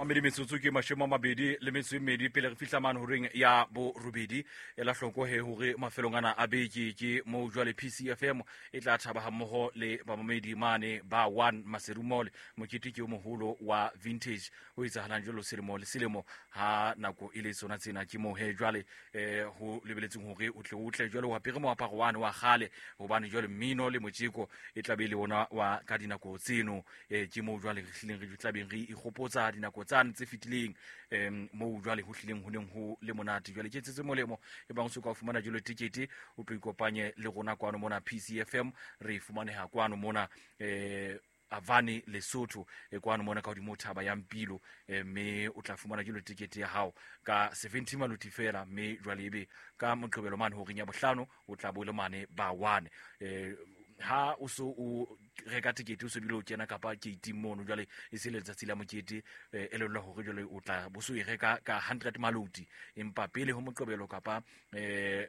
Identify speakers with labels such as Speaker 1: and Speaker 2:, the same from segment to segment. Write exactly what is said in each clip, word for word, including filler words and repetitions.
Speaker 1: Mamedi metsotso ke mashome a mabedi le metso e mmedi pele re fihla mane horeng ya borobedi. Ela hloko he hore mafelong ana a beke ke moo jwale P C F M e tla thaba hammoho le bamamedi mane ba one Maseru Mall. Mokete ke o moholo wa vintage o etsahalang jwalo selemo le selemo ha nako e le tsona tsena. Ke moo he jwale eh ho lebeletseng hore o tle o tle jwale o apere moaparo wane wa kgale, hobane jwale mmino le motjeko e tla be le ona wa ka dinako tseno. Eh ke moo jwale re hlileng re tla beng re ikgopotsa dinako tsane tse fetileng, em moo jwale ho hlileng ho neng ho le monate. Jwale ke tsetse molemo e bang o so ka o fumana jwale tikete, o tlo ikopanye le rona kwano mona P C F M. Re fumaneha kwano mona eh Avane Lesotho, e kwano mona ka hodimo thaba ya Mpilo, eh, mme o tla fumana jwale tikete ya hao ka seventy maloti fela, mme jwale ebe ka Moqebelo mane horeng ya bohlano o tla bo le mane ba one. Eh, ha o so o reka tikete o so bile o kena kapa gate mono jwale e se letsatsi la mokete, eh, elellwa hore jwale o tla bo so e reka ka hundred maloti, empa pele ho Moqebelo kapa, eh,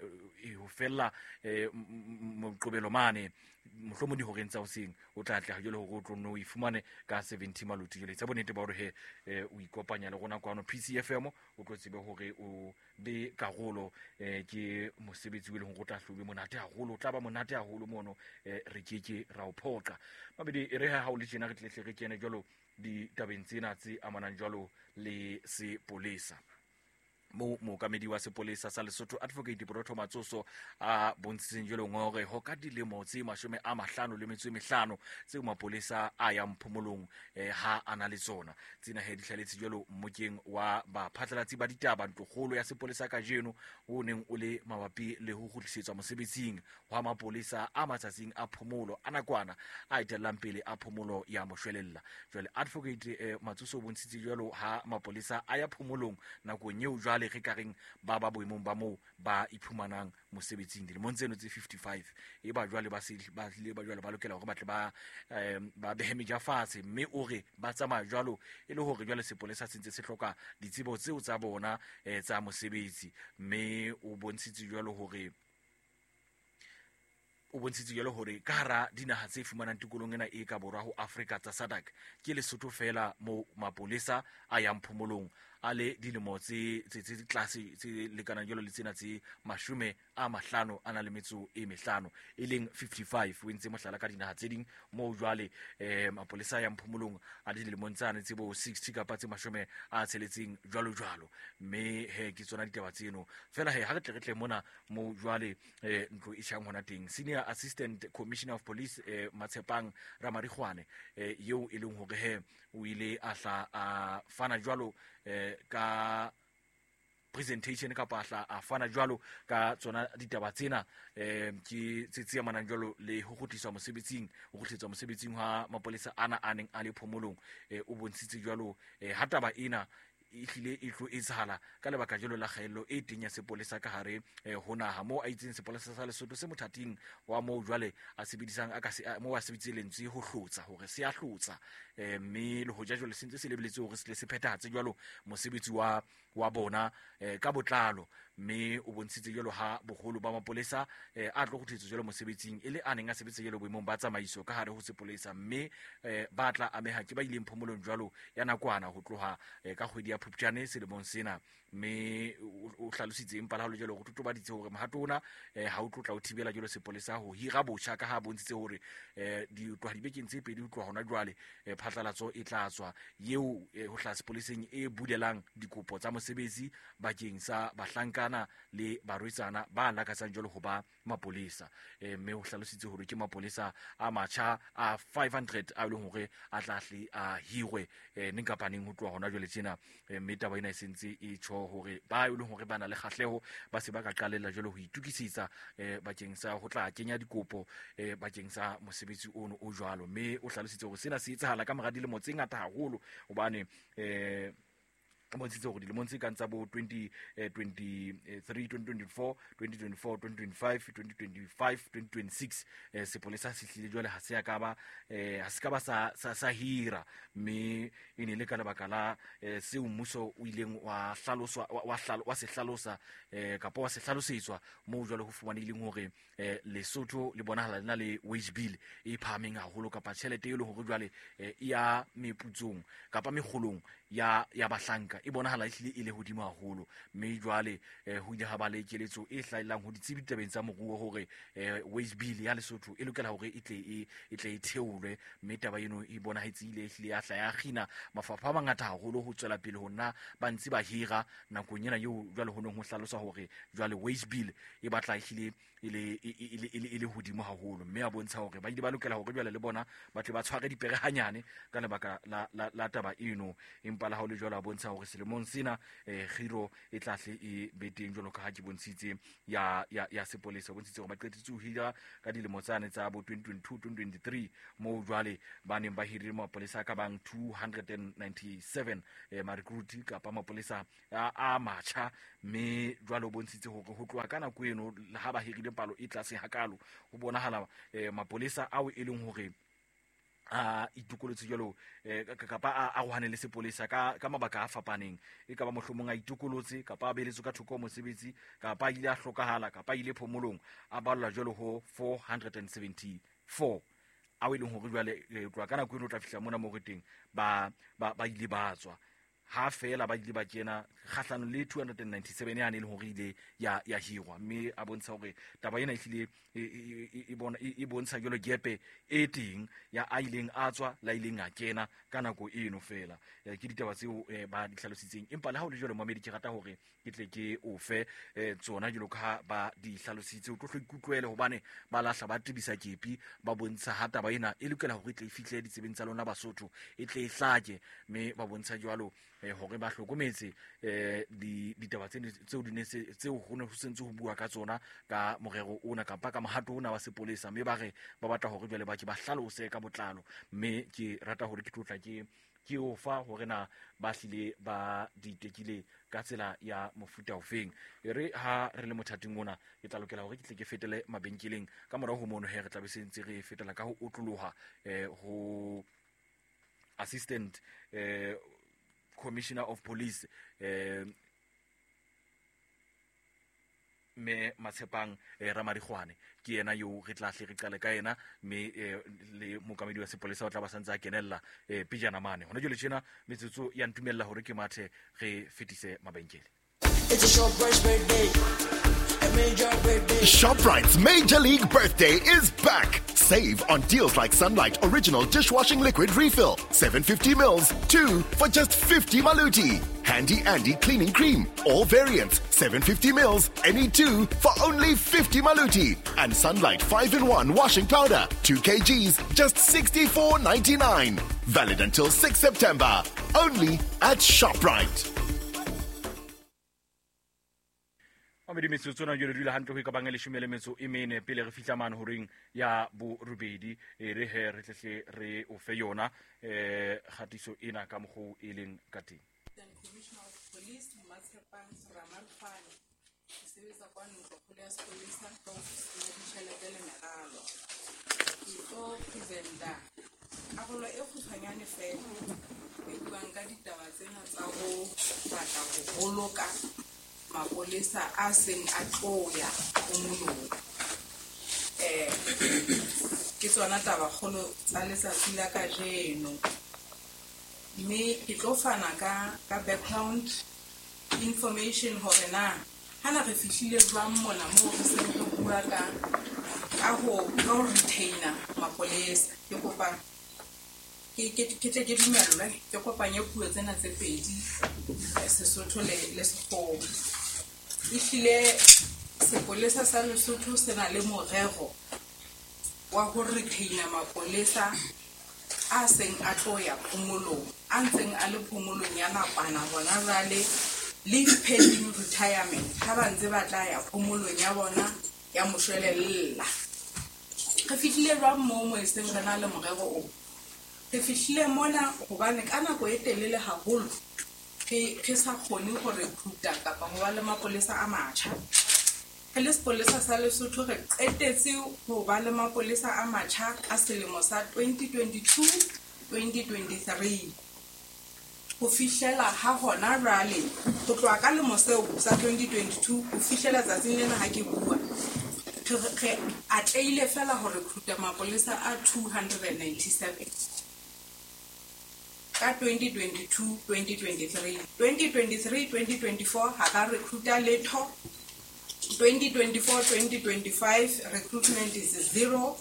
Speaker 1: ho fella, eh, Moqebelo mane mohlomong dihoreng tsa hoseng o tla tla jwale hore o tlo nno o e fumane ka seventy maloti. Jwale tsa bonnete ba hore he, eh, o ikopanya le rona kwano P C F M, o tlo tsebe hore o be karolo, eh, ke mosebetsi o leng hore o tla hlobe monate haholo, o tla ba monate haholo mono, eh, re ke ke ra o phoqa. Mabedi e re ha o le tjena re tletle re kene jwalo ditabeng tsena tse amanang jwalo le sepolesa. Mo mookamedi wa sepolesa sa Lesotho Advocate Borotho Matsoso a bontshitseng jwalo ngore ho ka dilemo tse mashome a mahlano le metso e mehlano tseo mapolesa a yang phomolong, eh, ha a na le tsona. Tsena he di hlaletse jwalo mmokeng wa baphatlalatsi ba ditaba ntlokgolo ya sepolesa kajeno o neng o le mabapi le ho kgutlisetswa mosebetsing wa mapolesa a matsatsing a phomolo a nakwana a etellang pele a phomolo ya moshwelella. Jwale Advocate, eh, Matsoso o bontshitse jwalo ha mapolesa a ya phomolong nakong eo jwale re ka reng ba ba boemong ba moo ba iphumanang mosebetsing dilemong tseno tse fifty-five, e ba jwale ba se ba hlile ba jwale ba lokela hore ba tle ba, eh, ba behe meja fatshe, mme o re ba tsamaya jwalo e le hore jwale sepolesa se ntse se hloka ditsebo tseo tsa bona, eh, tsa mosebetsi. Mme o bontshitse jwalo hore o bontshitse jwalo hore ka hara dinaha tse fumanang tikolong ena e ka borwa ho Afrika tsa SADC ke Lesotho fela mo mapolesa a yang phomolong a le dilemo tse, tse, tse tlase tse lekanang jwalo le tsena tse mashome a mahlano a na le metso e mehlano e leng fifty-five. O entse mohlala ka dinaha tse ding moo jwale, eh, mapolesa a yang phomolong a le dilemong tsane tse bo sixty kapa tse mashome a tsheletseng jwalo jwalo. Mme he ke tsona ditaba tseno fela he ha re tle re tle mona mo jwale, eh, ntlo e tjhang hona teng. Senior Assistant Commissioner of Police, eh, Matshepang Ramarikgwane, eh, eo e leng hore he o ile a hla a fana jwalo, eh, ka presentation kapa hla a fana jwalo ka tsona ditaba tsena, eh, ke tse tse amanang jwalo le ho kgutliswa mosebetsing, ho kgutliswa mosebetsing ha mapolesa ana a neng a le phomolong. Eh, o bontshitse jwalo, eh, ha taba ena e hlile e tlo etsahala ka lebaka jwalo la kgaello e teng ya sepolesa ka hare, eh, ho naha, moo a itseng sepolesa sa Lesotho se mothating wa moo jwale a sebedisang a ka se, a, moo a sebedisitse lentswe ho hlotsa hore se a hlotsa, eh, mme le hoja jwale se ntse se lebeletse hore se tle se phethahatse jwalo mosebetsi wa, wa bona, eh, ka botlalo. Mme o bontshitse jwalo ha boholo ba mapolesa, eh, a tlo kgutlisetswa jwalo mosebetsing e le a neng a sebetsa jwalo boemong ba tsamaiso ka hare ho sepolesa, mme, eh, ba tla ameha ke ba ileng phomolong jwalo ya nakwana ho tloha, eh, ka kgwedi ya Phupjane selemong sena. Mme o, o hlalositse empa le ha ho le jwalo, ho totobaditse hore mohato ona, eh, ha o tlo tla o thibela jwalo sepolesa ho hira botjha, ka ha bontshitse hore, eh, di tloha dibekeng tse pedi ho tloha hona jwale, eh, phatlalatso e tla tswa eo, eh, ho hlaha sepoleseng e bulelang dikopo tsa mosebetsi bakeng sa bahlankana le barwetsana ba lakatsang jwalo ho ba mapolesa. Eh, mme o hlalositse hore ke mapolesa a matjha a five hundred a leng hore a tla hle a hirwe, eh, neng kapa neng ho tloha hona jwale tjena. Eh, mme taba ena e sentse e tjho hore ba e leng hore ba na le kgahleho ba se ba ka qalella jwalo ho itokisetsa, eh, bakeng sa ho tla kenya dikopo, eh, bakeng sa mosebetsi ono o jwalo. Mme o hlalositse hore sena se etsahala ka mora dilemo tse ngata haholo hobane, eh, Bontshitse hore dilemong tse kang tsa bo twenty twenty-three, twenty twenty-four, twenty twenty-four, twenty twenty-five, twenty twenty-five, twenty twenty-six eh, sepolesa se hlile jwale ha se ya ka ba eh, ha se ka ba sa, sa, sa hira, mme e ne le ka lebaka la eh, seo mmuso o ileng wa hlaloswa, wa, wa hlalo, wa se hlalosa eh, kapa wa se hlalosetswa moo jwale ho fumanehileng hore eh, Lesotho le bonahala le na le wage bill e phahameng haholo, kapa tjhelete e leng hore jwale eh, e ya meputsong kapa mekgolong ya, ya bahlanka e bonahala e hlile e le hodimo haholo. Mme jwale eh, ho ile ha ba le keletso e hlahellang ho ditsebi ditabeng tsa moruo hore eh, wage bill ya Lesotho e lokela hore e tle e, e tle e theolwe, mme taba eno e bonahetse ile ehlile ya hla ya kgina mafapha a mangata haholo ho tswela pele ho nna ba ntse ba hira nakong ena eo jwale ho neng ho hlaloswa hore jwale wage bill e batla ehlile e le, e, e, e, e le, e le hodimo haholo, mme a bontsha hore ba ile ba lokela hore jwale le bona ba tle ba tshware dipere hanyane ka lebaka la, la, la taba eno. Empa le ha ho le jwalo a bontsha hore selemong sena eh, kgiro e tla hle e be teng jwalo ka ha ke bontshitse ya, ya, ya sepolesa. O bontshitse hore ba qetetse ho hira ka dilemo tsane tsa bo twenty twenty-two, twenty twenty-three moo jwale ba neng ba hirile mapolesa a ka bang two hundred and ninety-seven eh, ma-recruit kapa mapolesa a, a matjha, mme jwale o bontshitse hore ho tloha ka nako eno ha ba hirile palo e tlase hakalo ho bonahala eh, mapolesa ao e leng hore a itokolotse jwalo eh, kapa a arohane le sepolesa ka, ka mabaka a fapaneng, e ka ba mohlomong a itokolotse kapa a beeletswe ka thoko mosebetsi kapa a ile a hlokahala kapa a ile phomolong, a ballwa jwalo ho four hundred and seventy-four ao e leng hore jwale eh, tloha ka nako eno o tla fihla mona moo re teng ba, ba, ba ile ba tswa ha fela ba ile ba kena kgahlano le two hundred and ninety-seven yane e leng hore ile ya, ya hirwa, mme a bontsha hore taba ena ehlile e, e, e, e bona, e, e bontsha jwalo gepe e teng ya a ileng a tswa la ileng a kena ka nako eno fela. Eh, ke ditaba tseo eh, ba di hlalositseng, empa le ha ho le jwalo momedi ke rata hore ke tle ke o fe eh, tsona jwalo ka ha ba di hlalositse, o tlo hlo ikutlwele hobane ba lahla ba tebisa kepi ba bontsha ha taba ena e lokela hore e tle e fihle ditsebeng tsa lona Basotho, e tle e hlake, mme ba bontsha jwalo eh, hore ba hlokometse eh, di, ditaba tse tseo di ne se, tseo ho ne ho sentse ho bua ka tsona ka morero ona kapa ka mohato ona wa sepolesa, mme ba re ba batla hore jwale ba ke ba hlalose ka botlalo, mme ke rata hore ke tlotla ke ke o fa hore na ba hlile ba di tekile ka tsela ya mofuta ofeng. E re ha re le mothating ona ke tla lokela hore ke tle ke fetele mabenkeleng ka morao ho mono he re tla be se ntse re fetela ka ho otloloha eh, ho assistant eh, commissioner of police eh, me Matshepang eh, Ramarikgwane ke yena yo re tla hle re qale ka yena, mme eh, le mookamedi wa sepolesa o tla ba santse a kenella eh, pejana mane. Hona jwale tjena metsotso ya ntumella hore ke mathe re fetise mabenkele.
Speaker 2: It's a ShopRite's birthday. A major birthday.
Speaker 3: ShopRite's Major League Birthday is back. Save on deals like Sunlight Original Dishwashing Liquid Refill, seven fifty mils, two for just fifty maluti. Handy Andy Cleaning Cream, all variants, seven fifty mils, any two for only fifty maluti. And Sunlight five in one Washing Powder, two kilograms, just sixty-four ninety-nine. Valid until sixth September. Only at ShopRite.
Speaker 1: Mamedi metsotso na jwale dula hantle ho e ka bang e leshome le metso e mene pele re fihla mane horeng ya borobedi, e re he re tlehle re o fe yona eh kgatiso ena ka mokgwa e leng ka teng.
Speaker 4: Commissioner of Police Matshepang Ramarikgwane, ke sebetsa kwa ntlokgolo ya sepolesa ka ofising ya ditjhelete le meralo. Ke tlo presenta karolo e kgutshwanyane fela e buang ka ditaba tsena tsa ho batla ho boloka mapolesa a seng a tlo ya phomolong. Eh, ke tsona taba kgolo tsa letsatsi la kajeno. Mme ke tlo fana ka, ka background information hore na hana re fihlile jwang mona moo re seng re bua ka, ka ho, ka ho retainer mapolesa. Ke kopa ke, ke, ke tle ke dumellwe ke kopanye puo tsena tse pedi, eh, Sesotho le, le Sekgowa. Ehlile sepolesa sa Lesotho se na le morero wa ho retainer mapolesa a seng a tlo ya phomolong, a ntseng a le phomolong ya nakwana hona jwale, leave pending retirement, ha ba ntse ba tla ya phomolong ya bona ya moshwelella. Re fihlile jwang moo mo e seng re na le morero o? Re fihlile mona hobane ka nako e telele haholo re re sa kgone ho recruita kapa ho ba le mapolesa a matjha. Re le sepolesa sa Lesotho re qetetse ho ba le mapolesa a matjha ka selemo sa twenty twenty-two twenty twenty-three. Ho fihlela ha hona jwale, ho tloha ka lemo seo sa twenty twenty-two ho fihlela tsatsing lena ha ke bua, re re atlehile fela ho recruita mapolesa a two hundred and ninety-seven ka twenty twenty-two twenty twenty-three. twenty twenty-three twenty twenty-four ha ka recruita letho. twenty twenty-four twenty twenty-five recruitment is zero.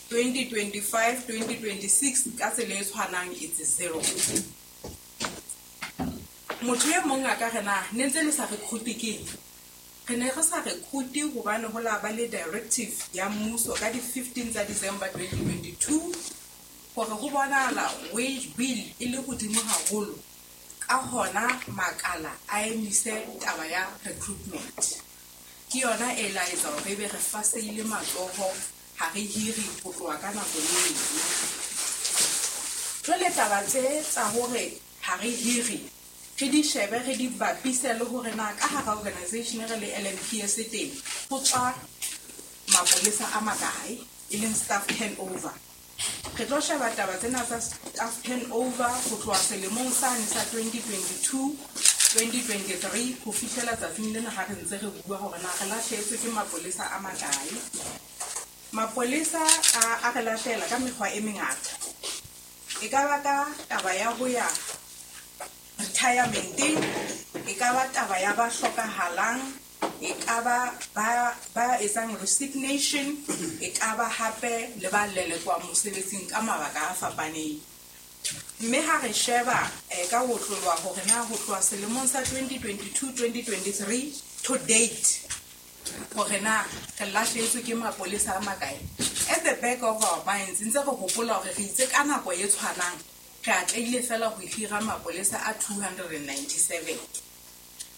Speaker 4: twenty twenty-five twenty twenty-six ka tsela e tshwanang it's zero. Motho e mong a ka re na ne ntse le sa recruit ke eng? Re ne re sa recruit hobane ho la ba le directive ya mmuso ka di fifteen tsa December twenty twenty-two hore ho bonahala wage bill e le hodimo haholo, ka hona makala a emise taba ya recruitment. Ke yona e la etsa hore ebe re faseile matsoho ha re hire ho tloha ka nako eo. Jwale taba tse tsa hore ha re hire re di shebe re di bapise le hore na ka hara organization re le L M P S teng ho tswa mapolesa a makae, e leng staff turnover. Re tlo sheba taba tsena tsa staff turnover ho tloha selemong sane sa twenty twenty-two twenty twenty-three ho fihlela tsatsing lena ha re ntse re bua hore na re lahlehetswe ke mapolesa a makae. Mapolesa a, a re lahlela ka mekgwa e mengata. E ka ba ka taba ya ho ya retirementeng, e ka ba taba ya ba hlokahalang, e ka ba ba ba etsang resignation, e ka ba hape le ba lelekwang mosebetsing ka mabaka a fapaneng. Mme ha re sheba eh, ka ho tlolwa hore na ho tloha selemong sa twenty twenty-two twenty twenty-three to date hore na re lahlehetswe ke mapolesa a makae. At the back of our minds ntse re hopola hore re itse ka nako e tshwanang re atlehile fela ho hira mapolesa a two hundred and ninety-seven.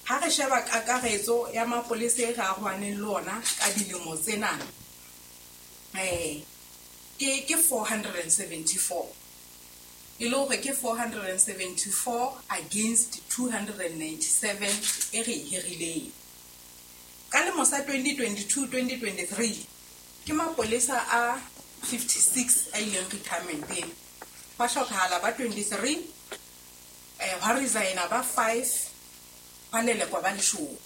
Speaker 4: Ha re sheba kakaretso ya mapolesa e re arohaneng le ona ka dilemo tsena, eh, ke ke four hundred and seventy-four. E le hore ke four hundred and seventy-four against two hundred and ninety-seven e re e hirileng. Ka lemo sa twenty twenty-two twenty twenty-three ke mapolesa a fifty-six a ileng retirementeng. Ba hlokahala ba twenty-three, eh, hwa resigna ba five, ba lelekwa ba leshome.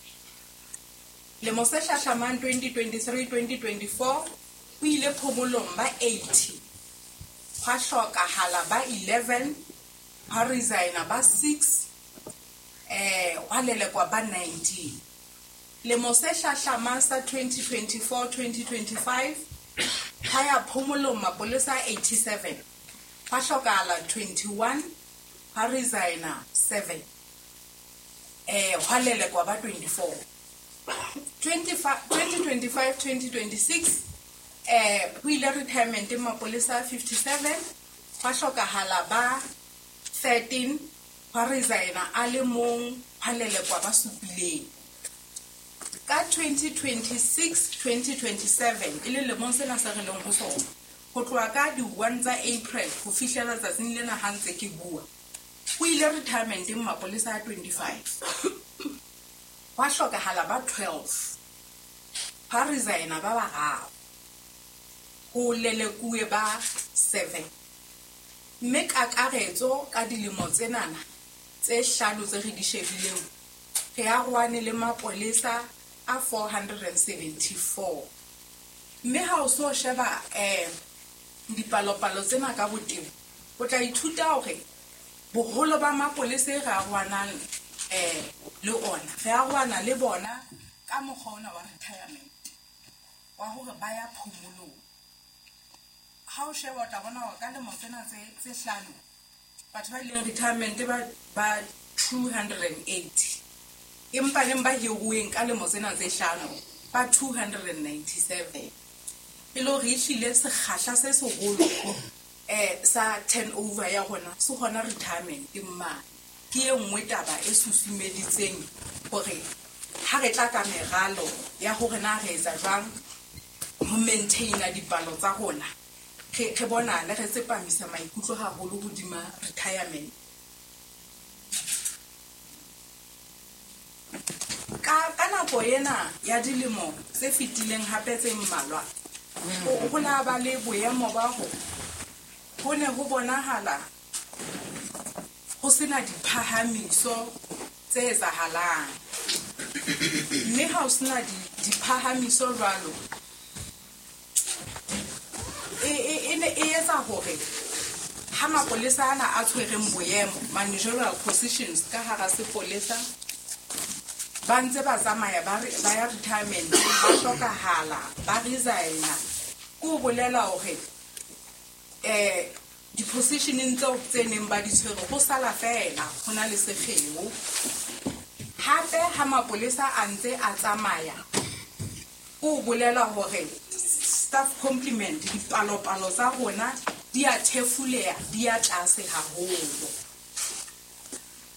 Speaker 4: Lemo se hlahlamang twenty twenty-three twenty twenty-four ho ile phomolong ba eighty, hwa hlokahala ba eleven, hwa resigna ba six, eh, hwa lelekwa ba nineteen. Lemo se hlahlamang sa twenty twenty-four twenty twenty-five ha ya phomolong mapolesa a eighty-seven, hwa hlokahala twenty-one, hwa resigna seven, eh, hwa lelekwa ba twenty-four. twenty twenty-five twenty twenty-six eh, ho ile retirement mapolesa fifty-seven, hwa hlokahala ba thirteen, hwa resigna a le mong, hwa lelekwa ba supileng. Ka twenty twenty-six twenty twenty-seven e le lemong sena se re leng ho sona, ho tloha ka di one tsa April ho fihlela tsatsing lena ha ntse ke bua, ho ile retirementeng mapolesa a twenty-five, hwa hlokahala ba twelve, hwa resigna ba bararo, ho lelekuwe ba seven. Mme kakaretso ka dilemo tsenana tse hlano tse re di shebileng, re arohane le mapolesa a four hundred and seventy-four. Mme ha o so sheba eh, dipalopalo tsena ka botebo, o tla ithuta hore boholo ba mapolesa e re arohanang eh, le ona, re arohana le bona ka mokgwa ona wa retirement, wa hore ba ya phomolong. Ha o sheba o tla bona hore ka lemo tsena tse tse hlano batho ba ileng retirement ba ba two hundred and eighty, empa neng ba hiruweng ka lemo tsena tse hlano ba two hundred and ninety-seven. E le hore ehlile sekgahla se seholo eh, sa turnover ya rona se hona retirement mane. Ke e nngwe taba e susumeditseng hore ha re tla ka meralo ya hore na re etsa jwang ho maintaina dipalo tsa rona, re re bonale re tsepamisa maikutlo haholo hodima retirement. Ka ka nako ena ya dilemo tse fetileng hape tse mmalwa, ho la ba le boemo ba ho ho ne ho bonahala ho sena diphahamiso tse etsahalang. Mme ha ho sena diphahamiso jwalo, e e ne e etsa hore ha mapolesa ana a tshwereng boemo, managerial positions ka hara sepolesa, ba ntse ba tsamaya ba ba ya retirement, ba hlokahala, ba resigna. Ke ho bolela hore eh di-positioneng tseo tse neng ba di tshwere ho sala feela ho na le sekgeo. Hape ha mapolesa a ntse a tsamaya, ke ho bolela hore staff complement, dipalopalo tsa rona di a thefuleha, di a tlase haholo.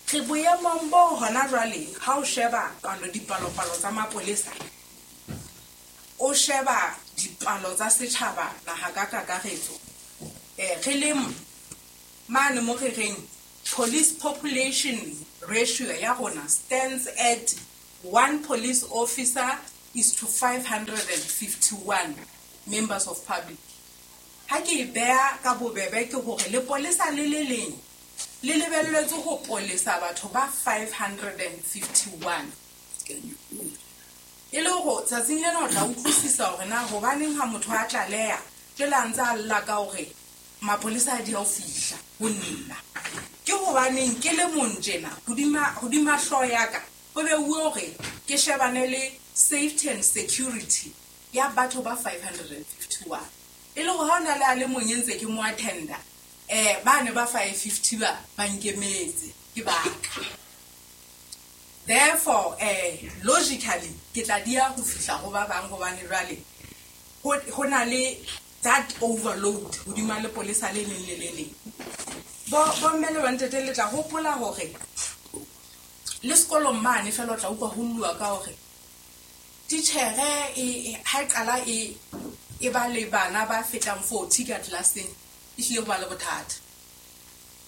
Speaker 4: Re boemong bo hona jwale ha o sheba palo dipalopalo tsa mapolesa, o sheba dipalo tsa setjhaba naha ka kakaretso, eh re le mane mo re reng police population ratio ya rona stands at one police officer is to five hundred and fifty-one members of public. Ha ke e beha ka bobebe ke hore lepolesa le le leng le lebelletswe ho polesa batho ba five hundred and fifty-one. E le hore tsatsing lena o tla utlwisisa hore na hobaneng ha motho a tlaleha jwale a ntse a lla ka hore mapolesa a di a ho fihla ho nna. Ke hobaneng ke le mong tjena hodima hodima hlooho ya ka ho beuwe hore ke shebane le safety and security ya batho ba five hundred and fifty-one. E le hore ha hona le a le mong e ntse ke mo attenda, eh ba ne ba five fifty ba ba nkemetse ke baka. Therefore, eh logically ke tla dia ho fihla ho ba bang hobane jwale ho na le that overload hodima lepolesa le leng le le leng. Bo bo mme le bontate le tla hopola hore le sekolong mane fela o tla utlwa ho llwa ka hore titjhere e ha e qala e e ba le bana ba fetang forty ka tlelaseng, e hlile ho ba le bothata.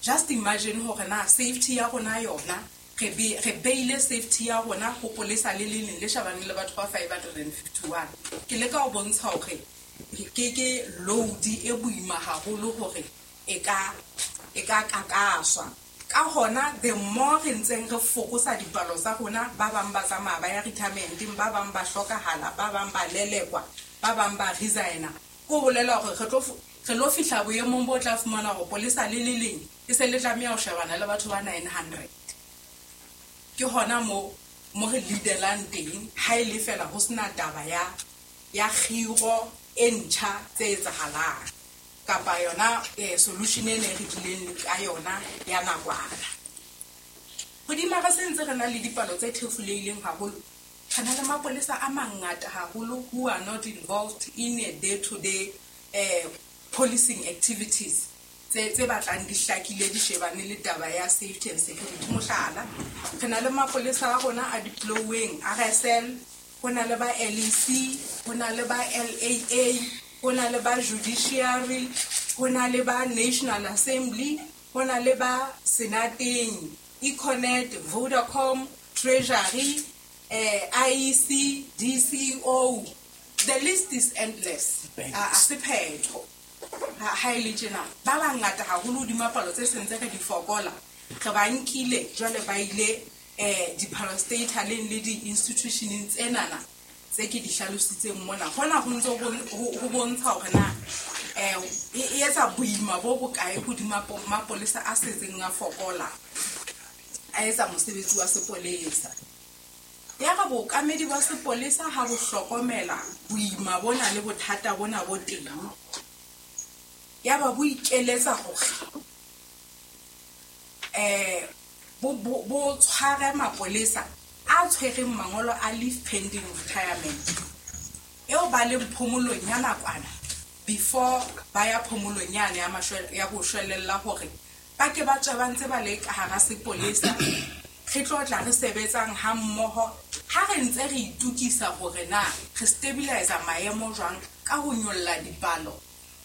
Speaker 4: Just imagine hore na safety ya rona yona re be re beile safety ya rona ho polesa le le leng le shebaneng le batho ba five hundred and fifty-one. Ke leka ho bontsha hore ke ke load e boima haholo hore e ka e ka kakaswa. Ka hona the more re ntseng re fokosa dipalo tsa rona, ba bang ba tsamaya ba ya retirementeng, ba bang ba hlokahala, ba bang ba lelekwa, ba bang ba resigna. Ke ho bolela hore re tlo re lo fihla boemong bo tla fumana hore polesa le le leng e se le tlameha ho shebana le batho ba nine hundred. Ke hona mo mo re leadelang teng ha e le fela ho sena taba ya ya kgiro e ntjha tse etsahalang kapa yona eh, solution e ne re tlileng ka yona ya nakwana. Hodima re sentse re na le dipalo tse thefulehileng haholo, re na le mapolesa a mangata haholo who are not involved in a day-to-day eh, policing activities tse tse batlang di hlakile di shebane le taba ya safety and security. Mohlala, re na le mapolesa a rona a deploying R S L, ho na le ba L E C, ho na le ba L A A, ho na le ba judiciary, ho na le ba National Assembly, ho na le ba Senateng, Econet, Vodacom, Treasury, eh, I E C, D C O. The list is endless. A sephetho. Ha e le tjena, ba bangata haholo hodima palo tse sentse re di fokola, re ba nkile jwale ba ile eh di-parastataleng le di-institutioneng tsenana tse ke di hlalositseng mona. Hona ho ntse ho bontsha hore na eh e etsa boima bo bokae hodima mapolesa a setseng a fokola, a etsa mosebetsi wa sepolesa. Ya re bookamedi ba sepolesa ha bo hlokomela boima bona le bothata bona bo teng, ya ba bo ikeletsa hore eh bo bo tshware mapolesa a tshwereng mangolo a leave pending retirement eo ba leng phomolong ya nakwana before ba ya phomolong yane ya mashwele ya boshwelella hore ba ke ba tswe ba ntse ba le ka hara sepolesa. Re tlo tla re sebetsang ha mmoho ha re ntse re itukisa hore na re stabilize maemo jwang ka ho nyolla dipalo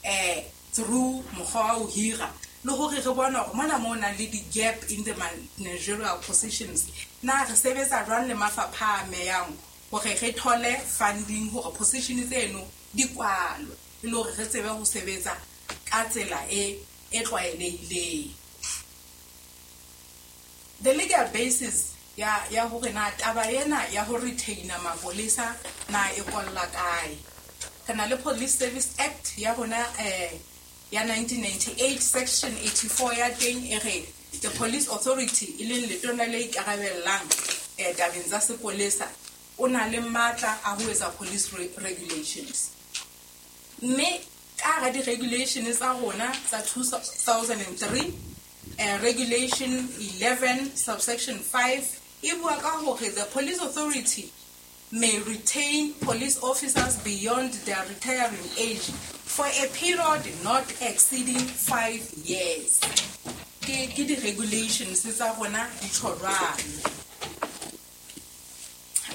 Speaker 4: eh through mokgwa wa ho hira Le hore re bone hore mona mo nang le di-gap in the managerial positions, na re sebetsa jwang le mafapha a amehang hore re thole funding hore position tseno di kwalwe, e le hore re tsebe ho sebetsa ka tsela e e tlwaelehileng. The legal basis ya ya hore na taba ena ya ho retaina mapolesa na e kolla kae. Re na le Police Service Act ya rona eh ya nineteen ninety-eight section eighty-four ya teng e re the police authority e leng letona le ikarabellang eh tabeng tsa sepolesa o na le matla a ho etsa police regulations. Mme ka hara di-regulations tsa rona tsa two thousand three, eh, regulation eleven subsection five e bua ka hore the police authority may retain police officers beyond their retiring age for a period not exceeding five years. Ke ke di-regulations tsa rona di tjho jwalo.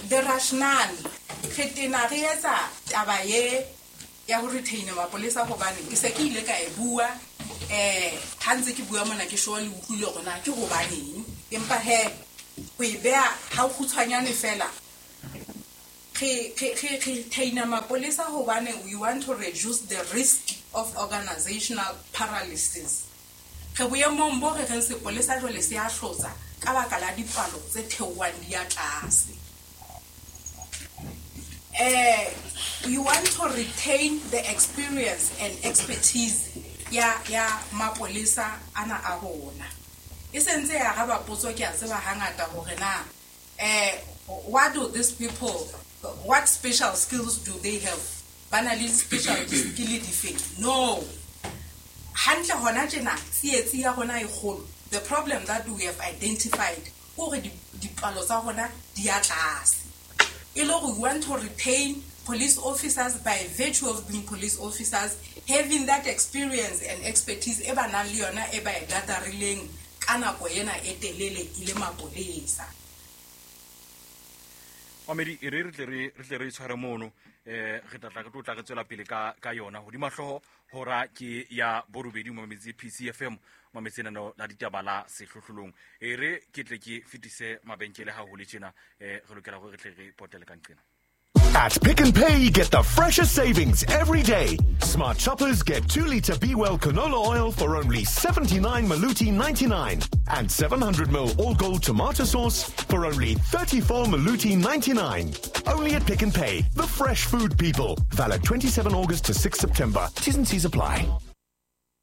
Speaker 4: The rationale, re tena re etsa taba ye ya ho retain mapolesa hobane ke se ke ile ka e bua, eh ha ntse ke bua mona ke sure le utlwile hore na ke hobaneng, empa he ho e beha ha o kgutshwanyane fela. Re re re retaina mapolesa hobane we want to reduce the risk of organizational paralysis. Re boemong bo re reng sepolesa jwale se a hlotsa ka baka la dipalo tse theohang di ya tlase. Eh, we want to retain the experience and expertise ya ya mapolesa ana a rona. E sentse ya araba potso ke a tseba hangata hore na eh what do these people, what special skills do they have? Ba na le special skill dife? No. Hantle hona tjena tsietsi ya rona e kgolo. The problem that we have identified hore dipalo tsa rona di ya tlase. E le hore we want to retain police officers by virtue of being police officers, having that experience and expertise e ba nang le yona e ba e gadarileng ka nako ena e telele e le mapolesa.
Speaker 1: Mamedi, e re re tle re re tle re tshware mono, eh re tla tla re tlo tla re tswela pele ka ka yona hodima hlooho hora ke ya borobedi mametsi P C F M mametsi nano la ditaba la sehlohlolong. E re ke tle ke fetise mabenkele ha hole tjena, eh re lokela hore re tle re potele ka nqena.
Speaker 3: At Pick n Pay, get the freshest savings every day. Smart shoppers get two litre Be Well canola oil for only seventy-nine Maluti ninety-nine and seven hundred mil All Gold tomato sauce for only thirty-four Maluti ninety-nine. Only at Pick n Pay, the fresh food people. Valid twenty-seven August to six September. T's and C's apply.